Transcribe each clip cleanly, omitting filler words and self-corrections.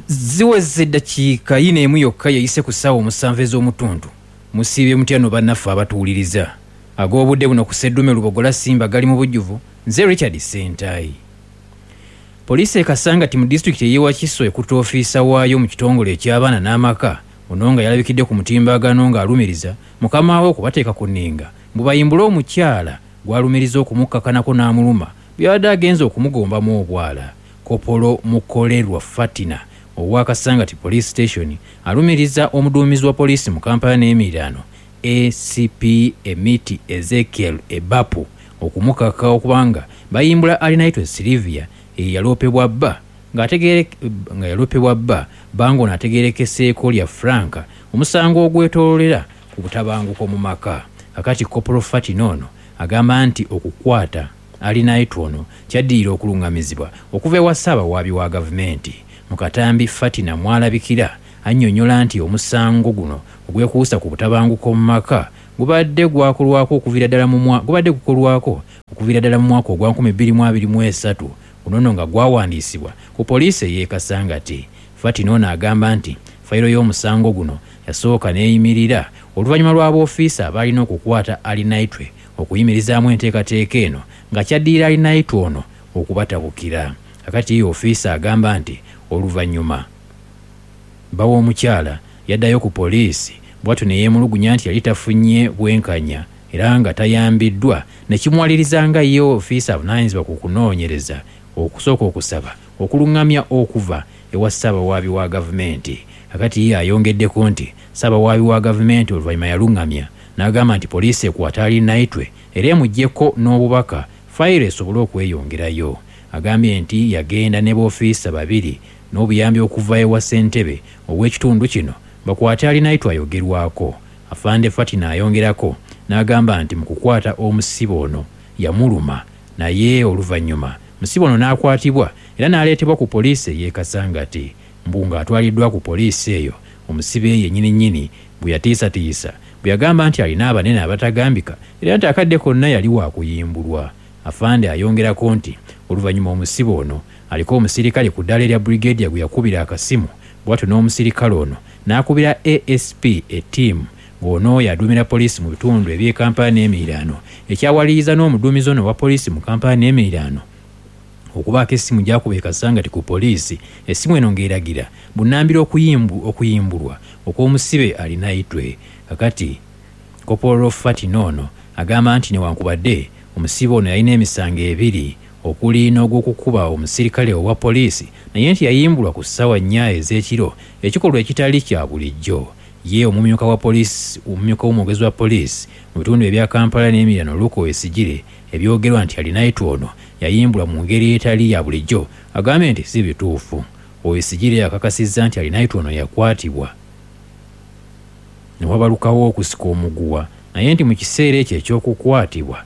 Ziweze eddakiika yina emu yokka yeyise ku ssaawa 7 ez'omutuntu. Musiibye mutya no bannaffe abatuwuliriza? Ag'obudde buno ku Sseddume Lubogola Simba gali mu bujjuvu. Nze Richard Ssentayi. Poliisi e Kasangati mu disitulikiti ey'e Wakiso ekutte ofiisa waayo mu kitongole eky'abaana n'amaka, ono nga yalabikidde ku mutimbagano ng'alumiriza mukama we okubateeka ku nninga mbu bayimbule omukyala gw'alumiriza okumukkakanako n'amuluma bwe yabadde agenze okumugombamu obwala. Kopolo Mukolerwa Fatina owa Kasangati Police Station alumiriza omuduumizi wa poliisi mu Kampala n'emiriraano ACP Emiti Ezekiel Ebapu okumukaka okuba nga bayimbula Arinaitwe Sylvia eyaloopebwa bba nga yaloopebwa bba bba ng'ono ategeerekeseeko lya Frank omusango ogwetoololera ku butabanguko mu maka. Kakati Kopolo Fatina ono agamba nti okukwata Arinaitwe ono kyaddirira okulungamizibwa okuva ewa Ssaabawaabi wa gavumenti. Mu katambi Fatina mw'alabikira annyonnyola nti omusango guno ogwekuusa ku butabanguko mu maka gubadde gwakolwako okuviira ddala mu mwa gubadde gukolwako okuviira ddala mu mwaka ogwa 2023, guno nno nga gwawandiisibwa ku poliisi ey'e Kasangati. Fatina ono agamba nti fayiro y'omusango guno yasooka n'eyimirira oluvannyuma lw'aboofiisa abaalina okukwata Arinaitwe okuyimirizaamu enteekateeka eno nga kyaddirira Arinaitwe ono okubatabukira. Kakati ye ofiisa agamba nti oluvannyuma bba w'omukyala yaddayo ku poliisi bw'atyo ne yeemulugunya nti yali tafunye bwenkanya era nga tayambiddwa ne kimuwaliriza nga ye ofiisa avunaanyizibwa ku kunoonyereza okusooka okusaba okulungamya okuva ewa Ssaabawaabi wa gavumenti. Kakati ye ayongeddeko nti Ssaabawaabi wa gavumenti oluvannyuma yalungamya n'agamba nti poliisi ekwate Arinaitwe era emuggyeko n'obubaka fayiro esobole okweyongerayo. Agambye nti yagenda ne boofiisa babiri n'obuyambi okuva ewa ssentebe ow'ekitundu kino bakwate Arinaitwe ayogerwako. Afande Fatina ayongerako n'agamba nti mu kukwata omusibe ono yamuluma naye oluvannyuma musibe ono n'akwatibwa era n'aleetebwa ku poliisi ey'e Kasangati. Mbu ng'atwaliddwa ku poliisi eyo omusibe yennyini nnyini bwe yatiisatiisa bwe yagamba nti alina abanene abatagambika era nti akadde konna yali waakuyimbulwa. Afande ayongerako nti oluvannyuma omusibe ono aliko omusirikale ku ddaala erya Brigadier gwe yakubira akasimu bw'atyo n'omusirikale ono n'akubira ASP ettiimu ng'ono y'aduumira poliisi mu bitundu eby'e Kampala n'emiriraano ekyawaliriza n'omuduumizi ono owa poliisi mu Kampala n'emiriraano okubaako essimu gy'akuba e Kasangati ku poliisi. Essimu eno ng'eragira bunnambiro okuyimbulwa okw'omusibe Arinaitwe. Kakati Kopolo Fatina ono agamba nti newankubadde omusibe ono yalina emisango ebiri okuli n'ogw'okukuba omusirikale owa poliisi naye nti yayimbulwa ku ssaawa 4 ez'ekiro, ekikolwa ekitali kya bulijjo. Ye omumyuka wa poliisi omumyuka w'omwogezi wa poliisi mu bitundu ebya Kampala n'emiriraano Luke Owoyesigyire ebyogerwa nti Arinaitwe ono yayimbulwa mu ngeri etali ya bulijjo agambye nti si bituufu. Owoyesigyire akakasizza nti Arinaitwe ono yakwatibwa ne wabalukawo okusika omuguwa naye nti mu kiseera ekyo eky'okukwatibwa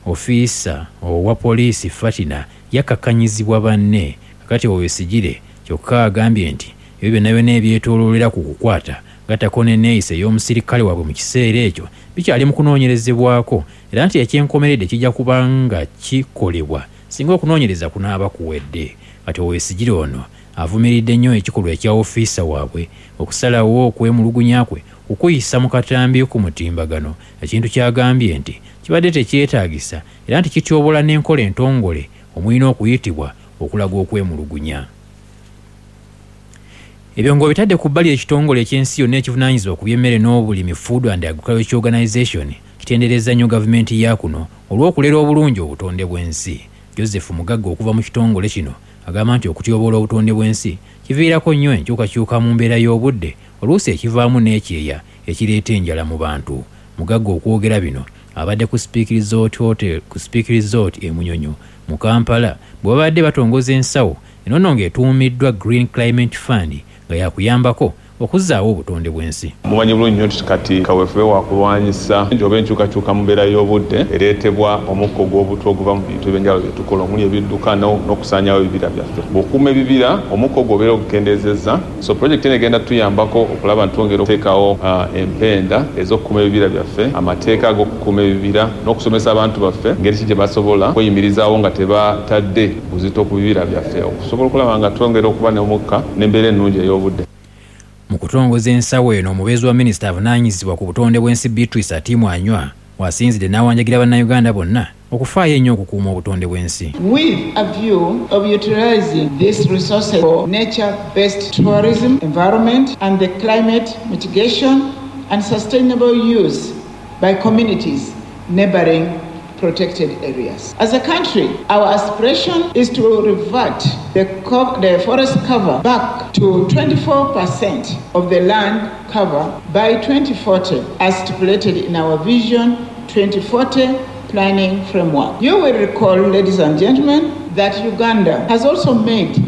ofiisa owa poliisi Fatina yakkakkanyizibwa banne. Kakati Owoyesigyire kyokka agambye nti ebyo byonna byonna ebyetooloolera ku kukwata gattako n'enneeyisa ey'omusirikale waabwe mu kiseera ekyo bikyali mu kunoonyerezebwako era nti ekyenkomeredde kijja kuba nga kikolebwa singa okunoonyereza kunaaba kuwedde. Kati Owoyesigyire ono avumiridde nnyo ekikolwa ekya ofiisa waabwe okusalawo okwemulugunya kwe okuyisa mu katambi ku mutimbagano, ekintu ky'agambye nti kibadde tekyetaagisa era nti kityobola n'enkola entongole omulina okuyitibwa okulaga okwemulugunya. Ebyo ng'obitadde ku bbali, ekitongole eky'ensi yonna ekivunaanyizibwa ku by'emmere n'obulimi, Food and Agriculture Organization, kitenderezza nnyo gavumenti ya kuno olw'okulera obulungi obutonde bw'ensi. Joseph Mugagga okuva mu kitongole kino agamba nti okutyoboola obutonde bw'ensi kiviirako nnyo enkyukakyuka mu mbeera y'obudde oluusi ekivaamu n'ekyeya ekireeta enjala mu bantu. Mugagga okwogera bino abadde ku Speke Resort Hotel ku Speke Resort e Munyonyo mu Kampala bwe babadde batongoza ensawo eno nno ng'etuumiddwa Green Climate Fund nga yakuyambako okuzzaawo obutonde bw'ensi. Mumanyi bulungi nnyo nti kati kaweefube wa kulwanyisa oba enkyukakyuka mu mbeera y'obudde ereetebwa omukka ogw'obutwa oguva mu bintu ebyenjawulo bye tukola omuli ebidduka n'okusaanyaawo ebibira byaffe. Bw'okuuma ebibira, omukka ogwo obeera ogukendeezezza. So pulojekiti eno egenda kutuyambako okulaba nti twongera okuteekawo empenda ez'okukuuma ebibira byaffe, amateeka ag'okukuuma ebibira n'okusomesa abantu baffe ngeri ki gye basobola okweyimirizaawo nga tebatadde buzito ku bibira byaffe okusobola okulaba nga twongera okuba n'omukka n'embeera ennungi ey'obudde. Mu kutongoza ensawo eno, omubeezi wa minisita avunaanyizibwa ku butonde bw'ensi Beatrice Atim Anywar w'asinzidde n'awanjagira Bannayuganda bonna okufaayo ennyo okukuuma obutonde bw'ensi. With a view of utilizing these resources for nature-based tourism, environment and the climate mitigation and sustainable use by communities neighboring protected areas. As a country, our aspiration is to revert the forest cover back to 24% of the land cover by 2040, as stipulated in our Vision 2040 planning framework. You will recall, ladies and gentlemen, that Uganda has also made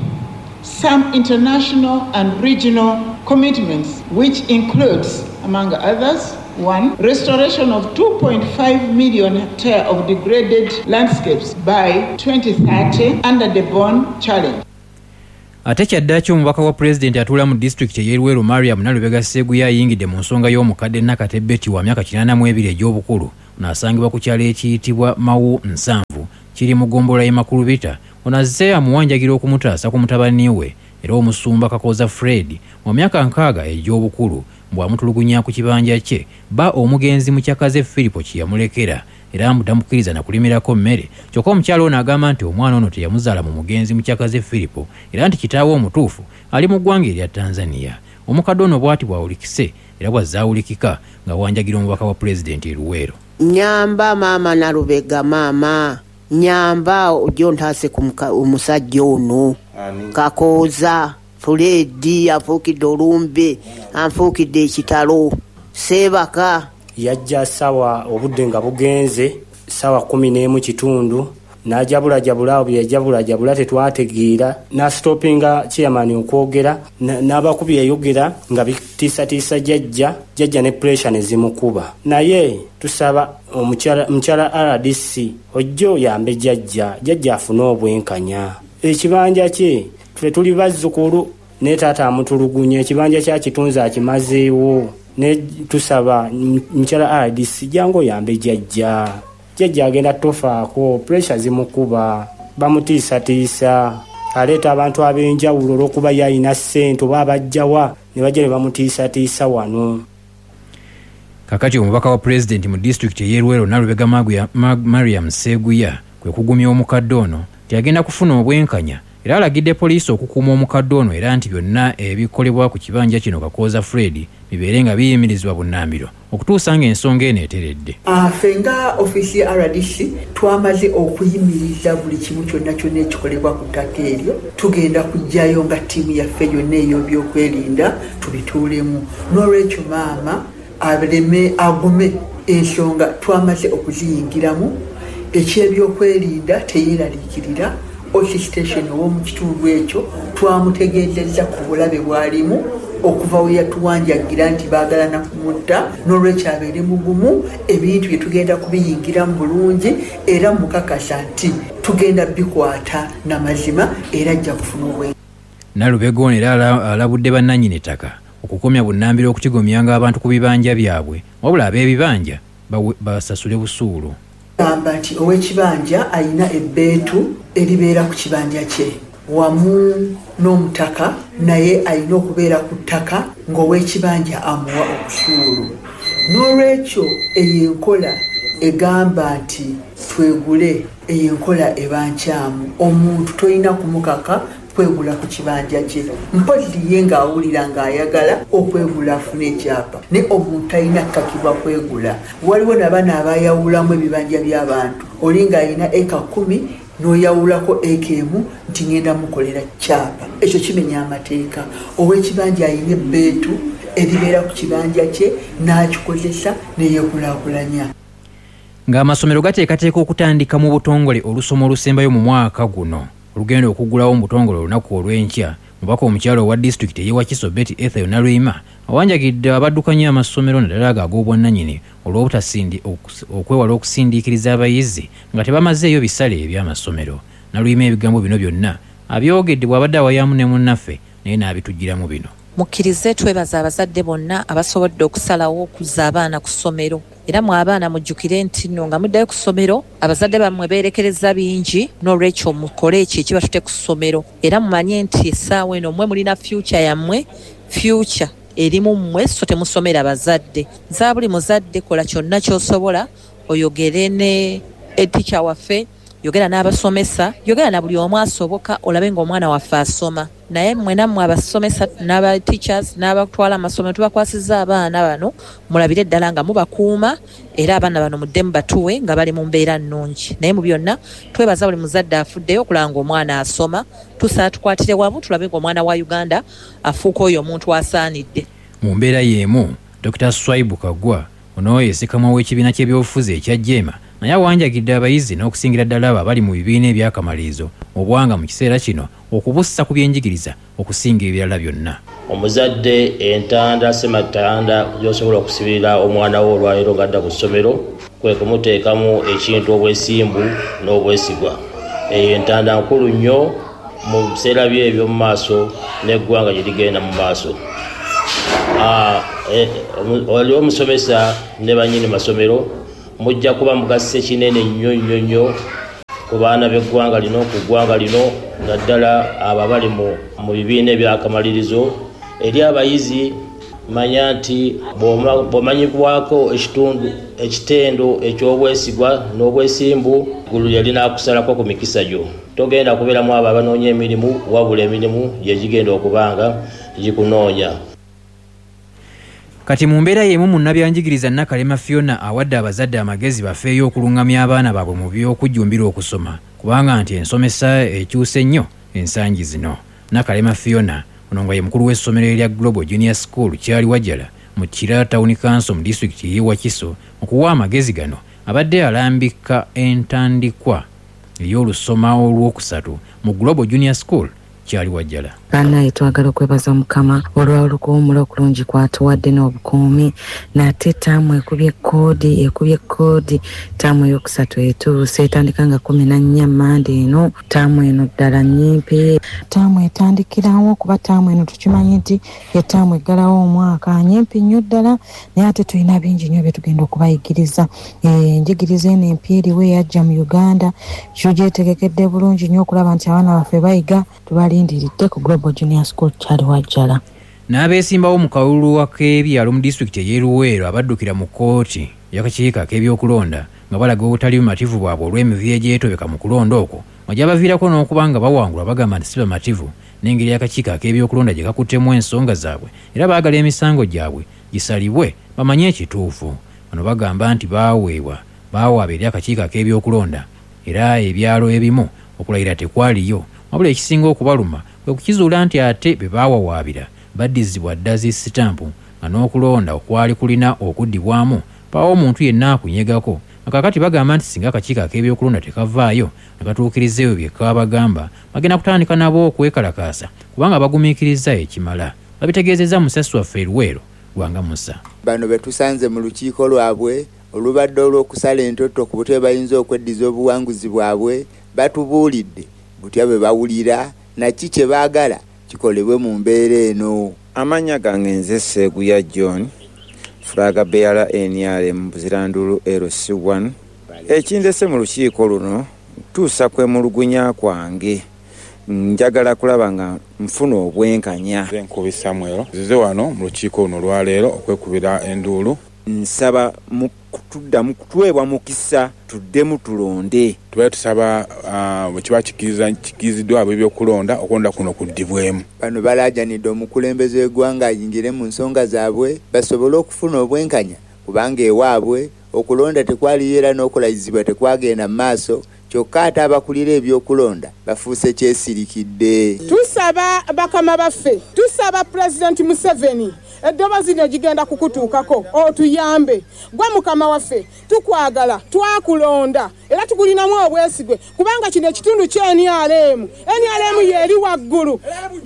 some international and regional commitments, which includes, among others, 1, restoration of 2.5 million hectares of degraded landscapes by 2030 under the Bonn Challenge. Ate kyaddaaki omubaka wa pulezidenti atuula mu disitulikiti ey'e Luweero Mariam Nalubega Sseguya ayingidde mu nsonga y'omukadde Nakate Betty wa myaka 82 egy'obukulu. Ono asangibwa ku kyalo ekiyitibwa Mawu Nsanvu kiri mu ggombolola y'e Makulubita. Ono azze amuwanjagira okumutaasa ku mutabani we era omusumba Kakooza Fred wa myaka 60 egy'obukulu bw'amutulugunya ku kibanja kye bba omugenzi Mukyakaze Firipo kye yamulekera era mbu tamukkiriza na kulimirako mmere. Kyokka omukyala ono agamba nti omwana ono teyamuzaala mu mugenzi Mukyakaze Firipo era nti kitaawe omutuufu ali mu ggwanga erya Tanzania. Omukadde ono bw'ati bw'awulikise era bw'azzaawulikika nga wanjagira omubaka wa pulezidenti e Luweero. Nyamba maama Nalubega, maama nyamba ojje ontaase ku omusajja ono Kakooza Fred anfuukidde olumbe, anfuukidde ekitalo, seebaka. Yajja sawa obudde nga bugenze sawa 11:15 n'ajabulajabula awo bye yajabulajabula tetwategeera, n'asitopinga chairman okwogera n'abakubi yayogera nga bitiisatiisa jjajja, jjajja ne pressure ne zimukuba. Naye tusaba omukyala RDC ojje oyambe jjajja, jjajja afune obwenkanya. Ekibanja kye ffe tuli bazzukulu ne taata amutulugunya, ekibanja kya kitunzi akimazeewo. Ne tusaba mukyala RDC jangu oyambe jjajja, jjajja agenda tofaako, pressure zimukuba, bamutiisatiisa, aleeta abantu ab'enjawulo olw'okuba ye alina ssente oba abajjawa ne bajja ne bamutiisatiisa wano. Kakati omubaka wa pulezidenti mu disitulikiti ey'e Luweero Nalubega Mariam Sseguya kwe kugumya omukadde ono nti agenda kufuna obwenkanya era alagidde poliisi okukuuma omukadde ono era nti byonna ebikolebwa ku kibanja kino Kakooza Fred bibeere nga biyimirizibwa bunnambiro okutuusa ng'ensonga eno eteredde. Ffe nga ofiisi ya RDC twamaze okuyimiriza buli kimu kyonna kyonna ekikolebwa ku ttaka eryo. Tugenda kuggyayo nga ttiimu yaffe yonna ey'ebyokwerinda tubituulemu. N'olwekyo maama aleme agume, ensonga twamaze okuziyingiramu. Ekyebyokwerinda teyeeraliikirira. OC station ow'omu kitundu ekyo twamutegeezezza ku bulabe bw'alimu okuva we yatuwanjagira nti baagala na kumutta, n'olwekyo abeere mugumu, ebintu bye tugenda kubiyingiramu bulungi era mukakasa nti tugenda bikwata n'amazima era ajja kufuna obwenkanya. Nalubega ono era alabudde bannannyini ttaka okukomya bunnambiro okutigomyanga abantu ku bibanja byabwe, wabula ab'ebibanja basasule busuulu. Gamba nti ow'ekibanja alina ebbeetu eribeera ku kibanja kye wamu n'omutaka, naye alina okubeera ku ttaka ng'ow'ekibanja amuwa obusuulu. N'olwekyo eyo enkola egamba nti twegule, eyo enkola eba nkyamu. Omuntu tolina kumukaka kwegula ku kibanja kye, mpozzi ye ng'awulira ng'ayagala okwegula afune ekyapa, naye omuntu talina kukakibwa kwegula. Waliwo n'abaana abayawulamu ebibanja by'abantu, oli ng'alina eka 10 n'oyawulako eka 1 nti ngenda mukolera kyapa. Ekyo kimenya amateeka. Ow'ekibanja alina ebbeetu eribeera ku kibanja kye n'akikozesa ne yeekulaakulanya. Ng'amasomero gateekateeka okutandika mu butongole olusoma olusembayo mu mwaka guno olugenda okuggulawo mu butongole olunaku olw'enkya, Omubaka omukyala owa disitulikiti ey'e Wakiso Betty Ethel Naluyima awanjagidde abaddukanya amasomero naddala ago ag'obwannannyini olw'obutasindi okwewala okusindiikiriza abayizi nga tebamazeeyo bisale eby'amasomero. Naluyima ebigambo bino byonna abyogedde bw'abadde awayaamu ne munnaffe naye n'abituggyiramu bino. Mukkirize twebaze abazadde bonna abasobodde okusalawo okuzza abaana ku ssomero. Era mwe abaana mujjukire nti nno nga muddayo ku ssomero abazadde bammwe beerekerezza bingi noolwekyo mukole ekyo ekibatute ku ssomero. Era mumanye nti essaawa eno mmwe mulina future yammwe, future eri mu mmwe so temusomera bazadde. Nsaba buli muzadde kola kyonna ky'osobola oyogere ne headteacher waffe, yogera n'abasomesa, yogera na buli omu asoboka olabe ng'omwana waffe asoma. Naye mmwe nammwe abasomesa n'aba teachers n'abatwala amasomero tubakwasizza abaana bano mulabire ddala nga mubakuuma era abaana bano muddemu batuwe nga bali mu mbeera nnungi. Naye mu byonna twebaza buli muzadde afuddeyo okulaba ng'omwana asoma. Tusaba tukwatire wamu tulabe ng'omwana wa Uganda afuuka oyo omuntu asaanidde. Mu mbeera y'emu, Dokita Swaibu Kaggwa, ono ye ssekamwa w'ekibiina ky'ebyobufuzi ekya Jeema naye awanjagidde abayizi n'okusingira ddala abo abali mu bibiina eby'akamalirizo obwanga mu kiseera kino okubussa ku byenjigiriza okusinga ebirala byonna. Omuzadde entanda ssematanda gy'osobola okusibirira omwana wo olwaleero ng'adda ku ssomero kwe kumuteekamu ekintu obwesimbu n'obwesigwa. Eyo entanda nkulu nnyo mu biseera bye eby'omu maaso n'eggwanga gye ligenda mu maaso. Oli omusomesa ne bannyini masomero mujja kuba mugasse kinene nnyo nnyo nnyo ku baana b'eggwanga lino, ku ggwanga lino, naddala abo abali mu bibiina eby'akamalirizo. Eri abayizi manya nti bw'omanyibwako ekitendo eky'obwesigwa n'obwesimbu, ggulu lye linaakusalako ku mikisa gyo. Togenda kubeeramu abo abanoonya emirimu, wabula emirimu gye gigenda okubanga gikunoonya. Kati mu mbeera y'emu munnabyanjigiriza Nakalema Fiona awadde abazadde amagezi bafeeyo okulungamya abaana baabwe mu by'okujjumbira okusoma kubanga nti ensomesa ekyuse nnyo ensangi zino. Nakalema Fiona ono nga ye mukulu w'essomero erya Global Junior School Kyali Wajala mu Kira Town Council mu disitulikiti ey'e Wakiso okuwa amagezi gano abadde alambika entandikwa ey'olusoma olwokusatu mu Global Junior School Kyali Wajala. Bannaye twagala okwebaza Mukama olw'olukuwummula okulungi kw'atuwadde n'obukuumi. Nate ttaamu ekubye kkoodi, ttaamu ey'okusatu etuuse etandika nga 14 Mmande eno. Ttaamu eno ddala nnyimpi. Ttaamu etandikirawo kuba ttaamu eno tukimanyi nti ye ttaamu eggalawo omwaka, nnyimpi nnyo ddala, naye ate tulina bingi nnyo bye tugenda okubayigiriza. Enjigiriza eno empya eriwo eyajja mu Uganda, tugyetegekedde bulungi nnyo okulaba nti abaana baffe bayiga. Tubalindiridde ku Global Junior School Kyali Wajala. N'abeesimbawo mu kalulu ak'ebyalo mu disitulikiti ey'e Luweero abaddukira mu kkooti y'akakiiko ak'ebyokulonda nga balaga obutali bumativu bwabwe olw'emivuyo egyetobeka mu kulonda okwo nga gyabaviirako n'okuba nga bawangulwa bagamba nti si bamativu n'engeri akakiiko ak'ebyokulonda gye kakuttemu ensonga zaabwe era baagala emisango gyabwe gisalibwe bamanye ekituufu. Bano bagamba nti baawaaba eri akakiiko ak'ebyokulonda era ebyalo ebimu okulayira tekwaliyo, wabula ekisinga okubaluma kwe kukizuula nti ate be baawawaabira baddizibwa dda zi sitampu nga n'okulonda okwali kulina okuddibwamu mpaawo omuntu yenna akunyegako. Kaakati bagamba nti singa akakiiko ak'ebyokulonda tekavaayo ne katuukiriza ebyo bye kaabagamba, bagenda kutandika nabo okwekalakaasa kubanga bagumiikiriza ekimala. Babitegeezezza musasi waffe e Luweero, Lwanga Musa. Bano be tusanze mu lukiiko lwabwe olubadde olw'okusala entotto ku butya bayinza okweddiza obuwanguzi bwabwe, batubuulidde butya bwe bawulira na ki kye baagala kikolebwe mu mbeera eno. Amannya gange nze Sseguya John, flag bearer NRM Buzirandulu LC1. Ekindese mu lukiiko luno ntuusa kwemulugunya kwange, njagala kulaba nga nfuna obwenkanya. Nze Nkubi Samuel, nzize wano mu lukiiko luno olwaleero okwekubira enduulu. Nsaba tuddamu kutuweebwa mukisa tuddemu tulonde. Tubaire tusaba bwe kiba kikkiriziddwa ab'ebyokulonda, okulonda kuno kuddibwemu. Bano balaajanidde omukulembeze w'eggwanga ayingire mu nsonga zaabwe basobole okufuna obwenkanya kubanga ewaabwe okulonda tekwaliyo era n'okulayizibwa tekwagenda mu maaso Kyokka ate abakulira ebyokulonda bafuuse kyesirikidde. Tusaba bakama baffe, tusaba Pulezidenti Museveni, eddoboozi lino gigenda kukutuukako otuyambe. Gwe mukama waffe, tukwagala, twakulonda era tukulinamu obwesigwe kubanga kino ekitundu kya NRM, NRM y'eri waggulu.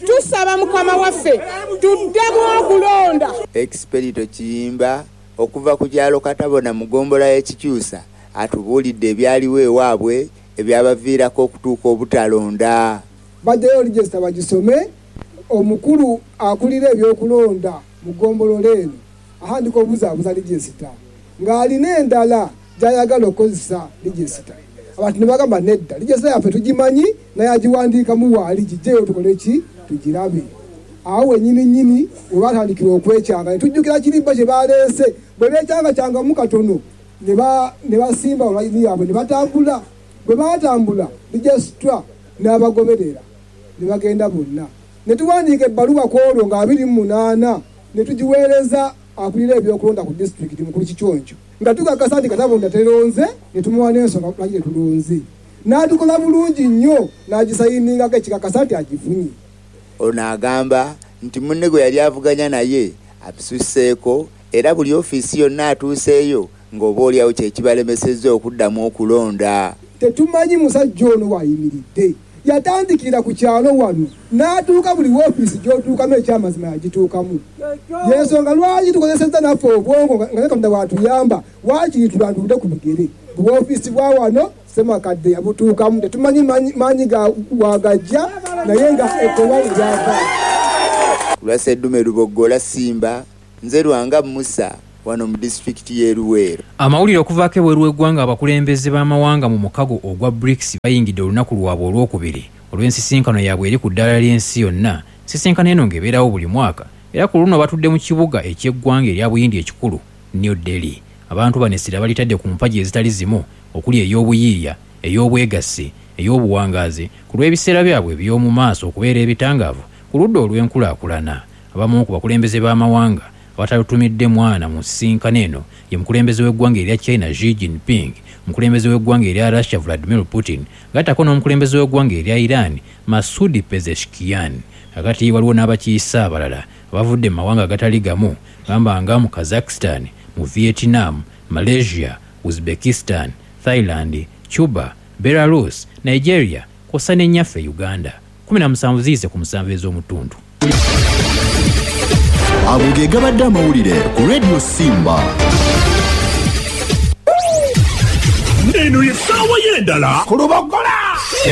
Tusaba mukama waffe tuddemu okulonda. Expedito Kiyimba okuva ku kyalo Katabona mu ggombolola y'e Kikyusa atubuulidde ebyaliwo ewaabwe ebyabaviirako okutuuka obutalonda. Bajjayo lijesita bagisome, omukulu akulira ebyokulonda mu ggombolola eno ahandika obuzaabuza lijesita ng'alina endala gy'ayagala okukozesa lijesita. Abantu ne bagamba nedda, lijesita yaffe tugimanyi naye agiwandiikamu waali, gijjeyo tukole ki, tugirabe. Awo wennyini nnyini we baatandikira okwekyanga ne tujjukira kirimba kye baleese. Bwe beekyangakyangamu katono ne basimba olayini yaabwe ne batambula. Bwe baatambula lijesitwa n'abagoberera ne bagenda bonna. Ne tuwandiika ebbaluwa ku olwo nga 28 ne tugiweereza akulira ebyokulonda ku disitulikiti Mukulu Kiconco nga tukakasa nti Katabonda teronze ne tumuwa n'ensonga lwaki tetulonze. N'atukola bulungi nnyo n'agisayiningako ekikakasa nti agifunye. Ono agamba nti munne gwe yali avuganya naye abisusseeko era buli ofiisi yonna atuuseeyo ng'oboolyawo kye kibalemesezza okuddamu okulonda. Tetumanyi musajja ono w'ayimiridde. Yatandikira ku kyalo wano n'atuuka buli woofiisi gy'otuukamu ekyamazima yagituukamu. Y'ensonga lwaki tukozesezza naffe obwongo nga ne Katonda bw'atuyamba waakiri tulandulule ku bigere. Buwoofiisi bwa wano Ssemakadde yabutuukamu tetumanyi maanyi ga wagajja naye nga tewali byava. Ku lwa Sseddume Luboggola Simba, nze Lwanga Musa wano mu disitulikiti y'e Luweero. Amawulire okuvaako ebweru w'eggwanga. Abakulembeze b'amawanga mu mukago ogwa BRICS bayingidde olunaku lwabwe olwokubiri olw'ensisinkano yaabwe eri ku ddaala ly'ensi yonna. Ensisinkano eno ng'ebeerawo buli mwaka era ku luno batudde mu kibuga eky'eggwanga erya Buyindi ekikulu New Delhi. Abantu bano essira balitadde ku mpagi ezitali zimu okuli ey'obuyiiya, ey'obwegassi, ey'obuwangaazi ku lw'ebiseera byabwe eby'omu maaso okubeera ebitangaavu ku ludda olw'enkulaakulana. Abamu ku bakulembeze b'amawanga abatalutumidde mwana mu nsisinkano eno ye mukulembeze w'eggwanga erya China Xi Jinping, omukulembeze w'eggwanga erya Russia Vladimir Putin gattako n'omukulembeze w'eggwanga erya Iran Masoud Pezeshkian. Kakati waliwo n'abakiise abalala abavudde mu mawanga agatali gamu gamba nga mu Kazakhstan, mu Vietnam, Malaysia, Uzbekistan, Thailand, Cuba, Belarus, Nigeria kw'ossa ne nnyaffe Uganda. 17 ziyise ku musanvu ez'omutundu. Ago ge gabadde amawulire ku Radio Simba. Eno ye ssaawa y'endala ku Lubogola.